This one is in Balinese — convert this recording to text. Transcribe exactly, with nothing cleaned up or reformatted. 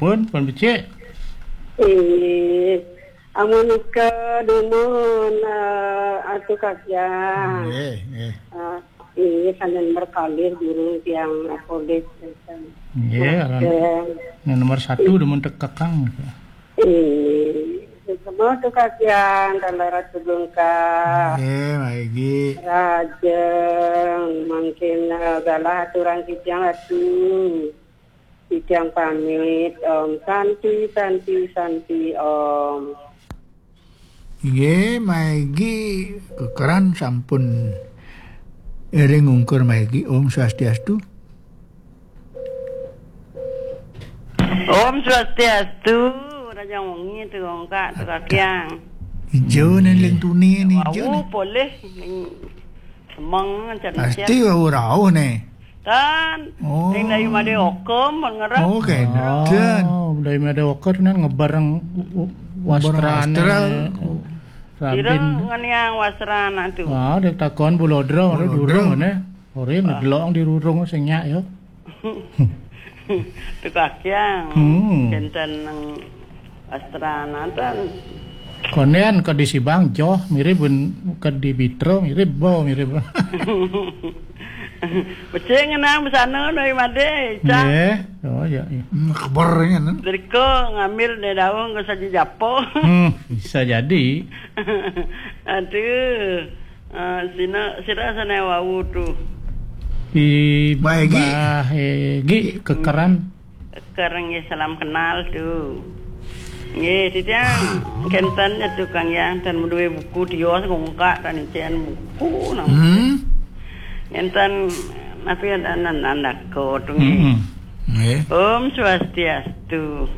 Pun, pun becik. Eh, amun nika dumun, eh, atu kakiang. Nggih, nggih. Eh, ini sanan berkalir guru tiang apolis. Nggih, aran. Nggih. Nah, nomor satu dumun tekekang. Ini semua tu kakiang, kalau ratu bengkak. Nggih, maigi. Rajeng, mungkin, eh, galah aturan kiciang atu. Titiang pamit, Om. Santi, Santi, Santi, Om. Inggih, maigi kekeran sampun iring ungkur maigi. Om Swastiastu. Om Swastiastu. Raja wengi tu, Kak, tu kakiang. Ijo nen lintuni ni ijo. Wau polih. Semeng, macam pasti wau rauh ni. Tan. Oh. Ning dayu made okem, ngerep. Oh, kenten. Oh, dayu made okem nan ngebareng u-, u-, wastrane. Wastrane. Rabin. Kira ngeniang wastrana tu. Ah, dia takon bulodro, bulodro. Durung ne. Ora ngedelok di rurung sing nyak ya. Tukang yang. Hmm. Kenten nang Astranatan. Konen ke di Sibang joh mirip ben ke di Bitro mirip bo mirip. Becik ngenang besana noi made, Cak. Nggih. Oh, ya, ya. Hmm, kabarnya kan. Dari ko ngambil dari daun ke saja japo. Hmm, bisa jadi. Aduh. Ah, sina, sira sana wau tu. Di Bah Egi. Bah Egi kekeran. Kekeran nggih, salam kenal tu. Nggih, titiang kenten ya tukang yang tan meduwe buku dia ngongkak tan icen buku nang. Hmm. Ngenten napi ada nan nandako tu nggih. Hmm. Nggih. Om Swastiastu.